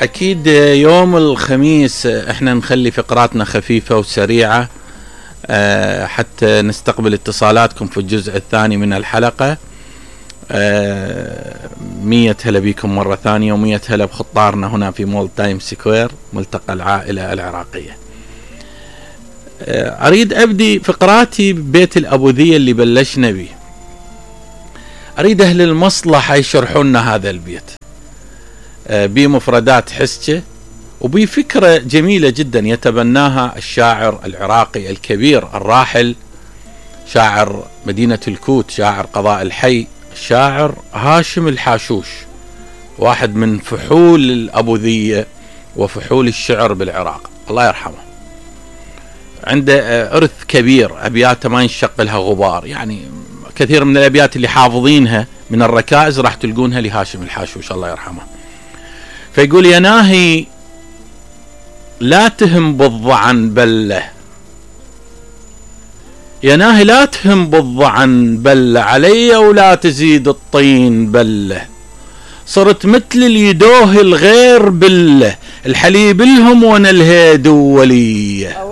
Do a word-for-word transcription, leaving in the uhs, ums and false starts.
أكيد يوم الخميس احنا نخلي فقراتنا خفيفة وسريعة أه حتى نستقبل اتصالاتكم في الجزء الثاني من الحلقة. أه مية هلا بكم مرة ثانية، ومية هلا بخطارنا هنا في مول تايم سكوير ملتقى العائلة العراقية. أه أريد أبدي فقراتي ببيت الأبوذية اللي بلشنا به. أريد أهل المصلحة يشرحون لنا هذا البيت بمفردات حسكة وبفكرة جميلة جدا يتبناها الشاعر العراقي الكبير الراحل شاعر مدينة الكوت، شاعر قضاء الحي، الشاعر هاشم الحاشوش، واحد من فحول الأبوذية وفحول الشعر بالعراق، الله يرحمه. عنده إرث كبير، أبياته ما ينشق لها غبار، يعني كثير من الأبيات اللي حافظينها من الركائز راح تلقونها لهاشم الحاشوش الله يرحمه. فيقول: يا ناهي لا تهم بالضعن بله، يا ناهي لا تهم بالضعن بله، علي ولا تزيد الطين بله، صرت مثل اليدوه الغير بله، الحليب لهم وانا الهيد وليه.